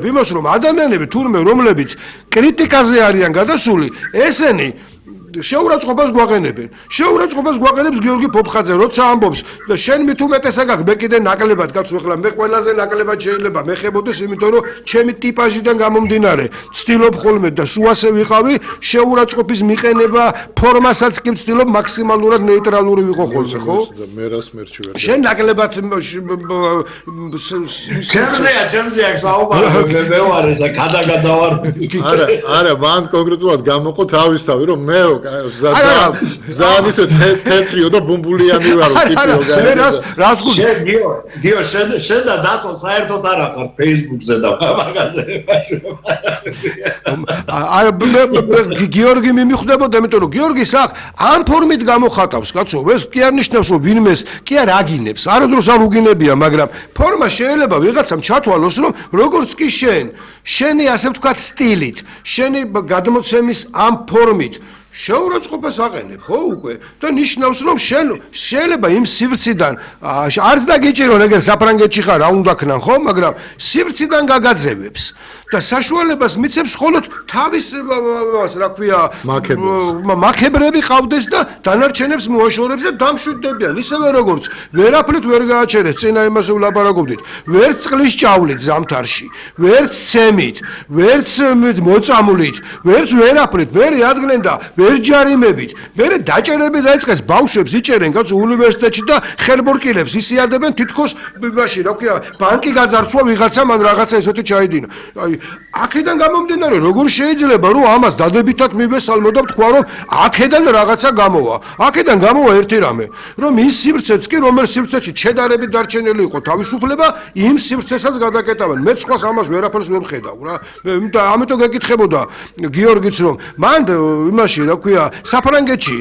იმას რომ ადამიანები თურმე რომლებიც კრიტიკაზე არიან გადასული, ესენი შეურაცხყოფას გვაყენებენ. შეურაცხყოფას გვაყენებს გიორგი ფოფხაძე, როცა ამბობს და შენ მით უმეტესად გაქვს, მე კიდე ნაკლებად კაცო, ეხლა მე ყველაზე ნაკლებად შეიძლება მეხებოდეს, იმიტომ რომ ჩემი ტიპაჟიდან გამომდინარე, ვცდილობ ხოლმე და სულ ასე ვიყავი, შეურაცხყოფის მიყენება ფორმასაც კი ვცდილობ მაქსიმალურად ნეიტრალური ვიყო ხოლმე, ხო? მე რას მერჩი ვერ. შენ ნაკლებად ჩემზეა საუბარი, მე ვარ ესა გადავარ. არა, მან კონკრეტულად გამოყო თავისთავი, რომ მე ზან ისე თეთრიო და ბუმბულიანი ვარო ტიპიო რას გულ გიო შენ და დატო საერთოდ არ აყარ Facebook-ზე და მაგაზეებაში გიორგი მიმიხვდებოდა, იმიტომ რომ გიორგის აქ ამ ფორმით გამოხატავს, კაცო, ეს კი არ ნიშნავს, რომ ვინმეს კი არ აგინებს, არადროს არ უგინებია, მაგრამ ფორმა შეიძლება ვიღაცამ ჩათვალოს, რომ როგორც კი შენი ასე ვთქვათ სტილით, შენი გადმოცემის ამ ფორმით შეურაცხყოფას აყენებ, ხო უკვე? და ნიშნავს, რომ შენ შეიძლება იმ სივრციდან არც დაგიჭირო, ეგერ საფრანგეთში ხარ, რა უნდა ქნან, ხო? მაგრამ სივრციდან გაგაძევებს და საშუალებას მიცემს მხოლოდ თავის რა ქვია, მაქებრები ყავდეს და დანარჩენებს მოაშორებს და დამშვიდდებიან, ისევე როგორც ვერაფრით ვერ გააჩერეს, წინა იმაზე ვლაპარაკობდით, ვერც წყლის ჭავლით ზამთარში, ვერც ცემით, ვერც მოწამვლით, ვერც ვერაფრით, მე რადგან და ვერ ჯარიმებით, მე დაჭერები დაიწყეს, ბავშვებს იჭერენ კაცო უნივერსიტეტში და ხელბორკილებს ისიადებენ თითქოს იმაში, რა ქვია, ბანკი გაძარცვა ვიღაცამ ან რაღაცა ესეთი ჩაიდინა. აი, აქედან გამომდინარე, როგორ შეიძლება რომ ამას დადებითად მივესალმო და ვთქვა, რომ აქედან რაღაცა გამოვა. აქედან გამოვა ერთი რამე, რომ ის სივრცეც კი, რომელიც სივრცეში შედარებით დარჩენილი იყო თავისუფლება, იმ სივრცესაც გადაკეტავენ. მე სხვას ამას ვერაფერს ვერ ვხედავ რა. და ამიტომ გეკითხებოდა გიორგიც, რომ მან იმაში რა ქვია, საფრანგეთში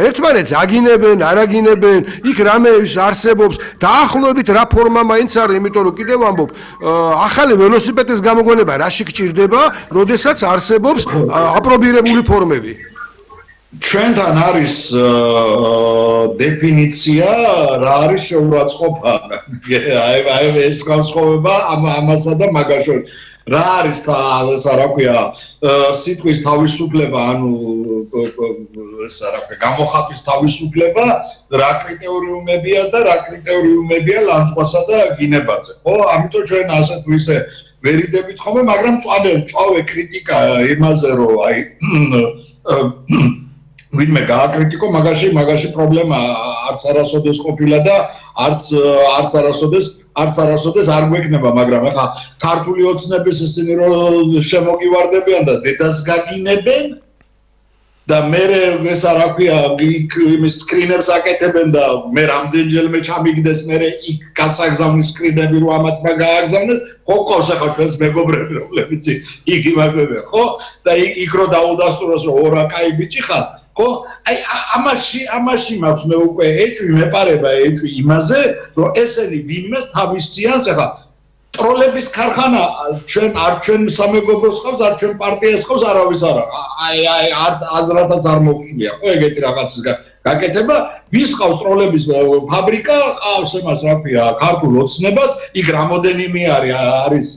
ერთმანეთს აგინებენ, არ აგინებენ, იქ რამე არსებობს, დაახლოებით რა ფორმა მაინც არის, იმიტომ რომ კიდევ ამბობ, ახალი ველოსიპედის გამოგონება რაში გჭირდება, როდესაც არსებობს აპრობირებული ფორმები. ჩვენთან არის დეფინიცია, რა არის შეურაცხყოფა. აი ეს განსხვავება ამასა და მაგაშორ. რა არის ესა რა ქვია, სიტყვის თავისუფლება, ანუ ესა რა ქვია, გამოხატვის თავისუფლება, რა კრიტერიუმებია და რა კრიტერიუმებია ლანძღვასა და გინებაზე, ხო? ამიტომ ჩვენ ასე თუ ისე ვერიდებით ხოლმე, მაგრამ წვავე კრიტიკა იმაზე, რომ აი ვინმე გააკრიტიკო, მაგაში პრობლემა არც არასოდეს ყოფილა და არც არასოდეს არ გვექნება, მაგრამ ახლა ქართული ოცნების ისინი რომ შემოგივარდებიან და დედას გაგინებენ და მე ესა რა ქვია, იმის სკრინებს აკეთებენ და მე რამდენჯერმე ჩამიგდეს, მე იქ გასაგზავნის სკრინები რო ამათმა გააგზავნეს, ხო ყავს ახლა ჩვენს მეგობრები, რომლებიც იქ იმართებიან, ხო? და იქ რო დაუდასტუროს, რომ ორა კაი ბიჭი ხარ, ხო? აი ამაში მაქვს მე უკვე ეჭვი მეპარება ეჭვი იმაზე, რომ ესენი ვინმეს თავის სიანს ახლა ტროლების ქარხანა ჩვენ სამეგობროს ხავს, არ ჩვენ პარტიას ხავს, არავის არა. აი არც აზრათაც არ მოგვსულია, ხო, ეგეთი რაღაცის გაკეთება, ვის ხავს ტროლების ფაბრიკა, ყავს εμას რა ქვია, ქართულ ოცნებას, იქ რამოდენიმე არის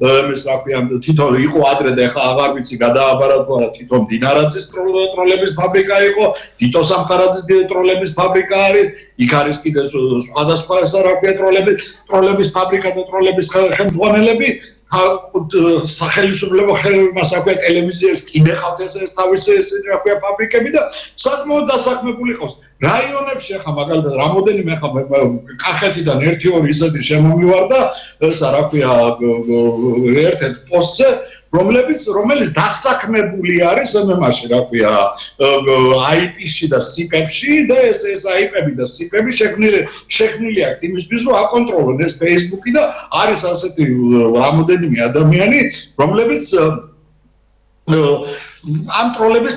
ეს რა ქვია, თვითონ იყო ადრე და ახლა აღარ ვიცი გადააბარა თუ არა, თვითონ დინარაძის ტროლების ფაბრიკა იყო, თითო სამხარაძის ტროლების ფაბრიკა არის, იქ არის კიდე სხვადასხვა ესა რა ქვია, ტროლების ფაბრიკა და ტროლების ხელმძღვანელები, სახელმწიფო ხელმას აქვია ტელევიზიას კიდე ყავდეს ეს თავისი ესენი რა ქვია ფაბრიკები და საკმაოდ დასაქმებული ყავს. რაიონებში ახლა მაგალითად რამოდენიმე ახლა კახეთიდან 1-2 ისეთი შემომივარდა ესა რა ქვია ერთ-ერთ პოსტზე, რომელიც დასაქმებული არის მემაში რა ქვია IP-ში და SIP-ებში და ეს IP-ები და SIP-ები შექმნილი აქვს იმისთვის, რომ აკონტროლონ ეს Facebook-ი და არის ასეთი რამოდენიმე ადამიანი, რომლებიც ამ ტროლების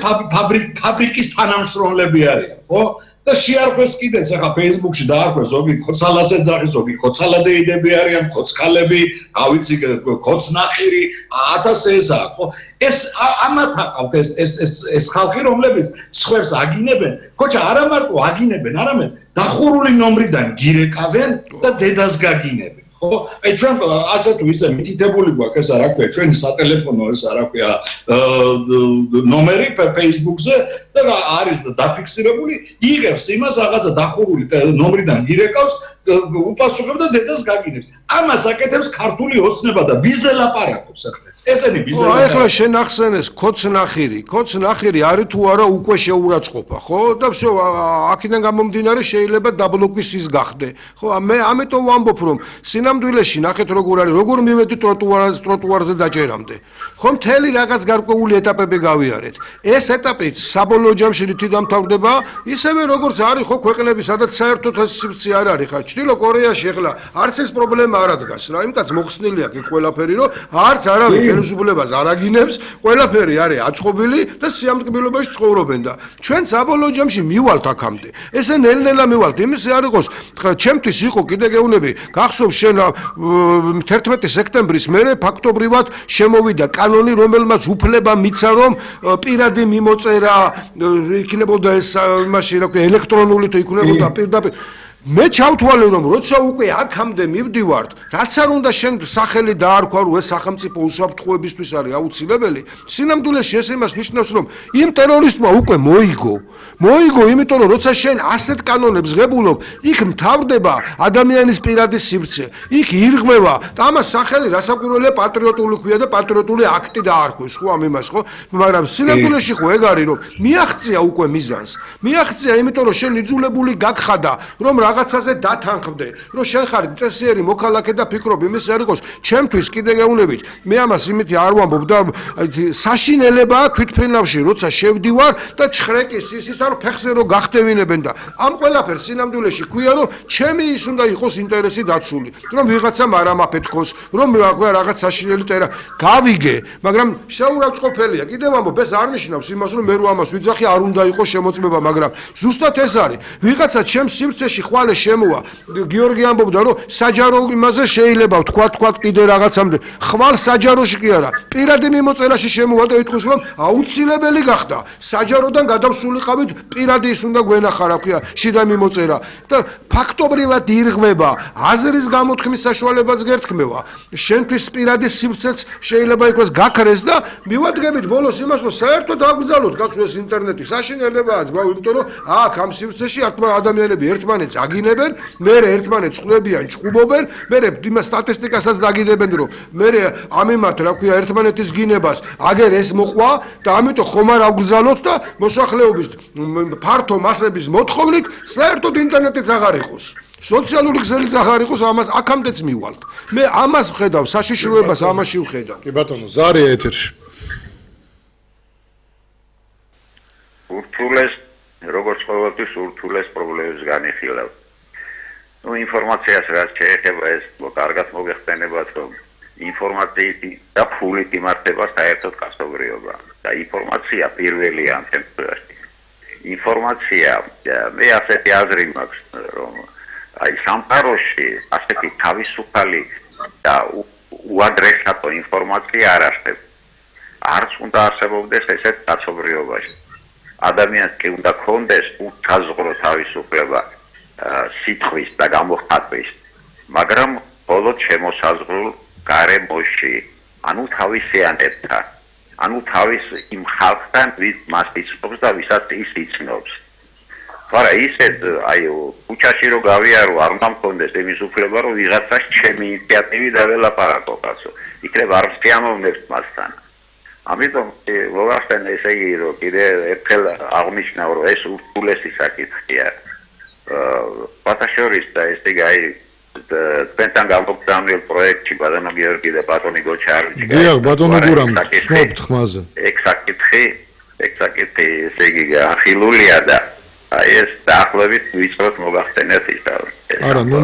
ფაბრიკის თანამშრომლები არიან, ხო? და შეარქვეს კიდეც ახლა Facebook-ში დაარქვეს ზოგი ქოცალას ეძახი, ზოგი ქოცალადეიდები არიან, ქოცკალები, რა ვიცი, ქოცნახირი, 1000 ესაა, ხო? ეს ამათ აყავთ ეს ხალხი, რომლებიც სხვებს აგინებენ, ხოჭა არა მარტო აგინებენ, არამედ დახურული ნომრიდან გირეკავენ და დედას გაგინებენ. ხო? აი ჩვენ ასე თუ ისე მითითებული გვაქვს ესა რა ქვია, ჩვენი სატელეფონო ესა რა ქვია, ნომერი Facebook-ზე და არის დაფიქსირებული, იღებს იმას რაღაცა დახურული ნომრიდან გირეკავს, უპასუხებს და დედას გაგინებს. ამას აკეთებს ქართული ოცნება და ვიზე ლაპარაკობს ახლა. ესენი ვიზე ლაპარაკობს. ახლა შენ ახსენეს ქოცნახირი არის თუ არა უკვე შეურაცხყოფა, ხო? და всё, აქედან გამომდინარე შეიძლება დაბლოკვის ის გახდე. ხო, მე ამიტომ ვამბობ, რომ სინამდვილეში ნახეთ როგორ არის, როგორ მივედი ტროტუარზე დაჭერამდე. ხო, მთელი რაღაც გარკვეული ეტაპები გავიარეთ. ეს ეტაპი საბოლოო ჯამში რითი დამთავრდება, ისევე როგორც არის ხო ქვეყნები, სადაც საერთოდ სივრცე არ არის, ხა ჩრდილო კორეაში ახლა არც ეს პრობლემა არ ადგას რა, იმიტაც მოხსნილი აქვს ყველაფერი, რომ არც არავინ ხელისუფლებას არ აგინებს, ყველაფერი არის აწყობილი და სიამტკბილობაში ცხოვრობენ და ჩვენ საბოლოო ჯამში მივალთ აქამდე. ესე ნელ-ნელა მივალთ, იმისი არ იყოს, ჩემთვის იყო კიდე გეუბნები, გახსოვს შენ 11 სექტემბრის მერე ფაქტობრივად შემოვიდა კანონი, რომელმაც უფლება მიცა, რომ პირადი მიმოწერა იქნებოდა ეს იმაში რა ქვია ელექტრონული თუ იქნებოდა პირდაპირ მე ჩავთვალე რომ როცა უკვე აქამდე მივდივართ, რაც არ უნდა შენ სახელი დაარქვა, რომ ეს სახელმწიფო უსაფრთხოებისთვის არის აუცილებელი, სინამდვილეში ეს იმას ნიშნავს, რომ იმ ტერორისტმა უკვე მოიგო, იმიტომ რომ როცა შენ ასეთ კანონებს ღებულობ, იქ მთავრდება ადამიანის პირადი სივრცე, იქ ირღვევა და ამას სახელი რასაკვირველია პატრიოტული ქვია და პატრიოტული აქტი დაარქვეს, ხო ამ იმას, ხო? მაგრამ სინამდვილეში ხო ეგ არის, რომ მიაღწია უკვე მიზანს. მიაღწია, იმიტომ რომ შენ იძულებული გაგხადა, რომ რაღაცაზე დათანხმდე, რომ შენ ხარ წესიერი მოქალაქე და ფიქრობ იმის არ იყოს, ჩემთვის კიდე გეუბნებით, მე ამას იმითი არ ვამბობ და საშინელებაა თვითფრინავში, როცა შევდივარ და ჩხრეკის ის არ ფეხზე რო გახტევინებენ და ამ ყველაფერს სინამდვილეში ქვია, რომ ჩემი ის უნდა იყოს ინტერესი დაცული, რომ ვიღაცამ არ ამაფეთქოს, რომ რაღაც საშინელი ტერა გავიგე, მაგრამ შეურაცხყოფელია. კიდევ ვამბობ, ეს არ ნიშნავს იმას, რომ მე რო ამას ვიძახი, არ უნდა იყოს შემოწმება, მაგრამ ზუსტად ეს არის. ვიღაცა ჩემს სივრცეში შემოვა გიორგი ამბობდა რომ საჯარო იმაზე შეიძლება თქვა კიდე რაღაცამდე ხვალ საჯაროში კი არა პირადი მიმოწერაში შემოვა და ითქვის რომ აუცილებელი გახდა საჯაროდან გადავსულიყავით პირადი ის უნდა გვენახა რა ქვია შიდა მიმოწერა და ფაქტობრივად ირღვევა აზრის გამოთქმის საშუალებაც გერთქმევა შენთვის პირადი სივრცეც შეიძლება იყოს გაქრეს და მივადგებით ბოლოს იმას რომ საერთოდ აგბრძალოთ კაცო ეს ინტერნეტი საშინელებაა ზღვა იმიტომ რომ აქ ამ სივრცეში ადამიანები ერთმანეთს აგინებენ, მერე ერთმანეთს ხვდებიან, ჭუბობენ, მერე იმ სტატისტიკასაც დაგიდებენ, რომ მერე ამ იმათ რა ქვია ერთმანეთის გინებას აგერ ეს მოყვა და ამიტომ ხომ არ აგრძალოთ და მოსახლეობის ფართო მასების მოთხოვნით საერთოდ ინტერნეტიც აღარ იყოს. სოციალური ქსელიც აღარ იყოს, ამას აქამდეც მივალთ. მე ამას ვხედავ, საშიშროებას ამაში ვხედავ. კი ბატონო, ზარია ეთერში. ურთულეს როგორც ყოველთვის ურთულეს პრობლემებს განიხილავ. ინფორმაციას რაც შეეხება ეს კარგად მოგეხსენებათ, რომ ინფორმაციით და ფულით იმართება საერთოდ კაცობრიობა. და ინფორმაცია პირველია ამ შემთხვევაში. ინფორმაცია, მე ასეთი აზრი მაქვს, რომ აი სამყაროში ასეთი თავისუფალი და უადრესატო ინფორმაცია არ არსებობს. არც უნდა არსებობდეს ესეთ კაცობრიობაში. ადამიანს კი უნდა ქონდეს უთაზღრო თავისუფლება სიტყვის და გამოხატვის, მაგრამ მხოლოდ შემოსაზღვრულ გარემოში, ანუ თავისიანებთან, ანუ თავის იმ ხალხთან, ვის მას იცნობს და ვისაც ის იცნობს. არა ისეთ აი ქუჩაში რო გავიარო, არ უნდა მქონდეს იმის უფლება, რომ ვიღაცას ჩემი ინიციატივით დაველაპარაკო კაცო. იქნებ არ შეამოვნებს მასთან. ამიტომ მოგახსენე ესე იგი რომ კიდე ერთხელ აღნიშნავ რომ ეს ურთულესი საკითხია პატაშორის და ესე იგი აი თქვენთან გამოგზავნილ პროექტში ბატონო გიორგი და ბატონი გოჩარიჩი დიახ ბატონო გურამ ვსმობთ ხმაზე ეგ საკითხი ესე იგი ახილულია და აი ეს დაახლოებით ვიწროთ მოგახსენეთ ის და არა ნუ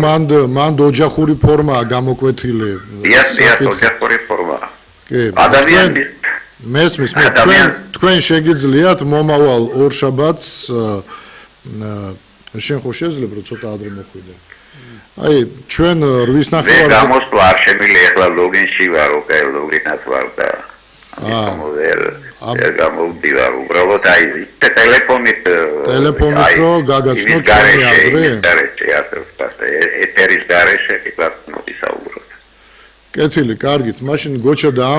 მანდ ოჯახური ფორმაა გამოკვეთილი დიახ ოჯახური ფორმაა კი ადამიანის მესმის თქვენ შეგიძლიათ მომავალ ორშაბათს შენ ხო შეიძლება რომ ცოტა ადრე მოხვიდე აი ჩვენ 8:30-ზე გამოსვლა არ შემიძლია ახლა ლოგინში ვარ ოკე ლოგინად ვარ და ამიტომ გამოვდივარ უბრალოდ აი ტელეფონით რო გაგაცნოთ ჩვენ ადრე ეთერის გარეშე კი ვისაუბროთ კეთილი, კარგით. მაშინ გოჩა და ამ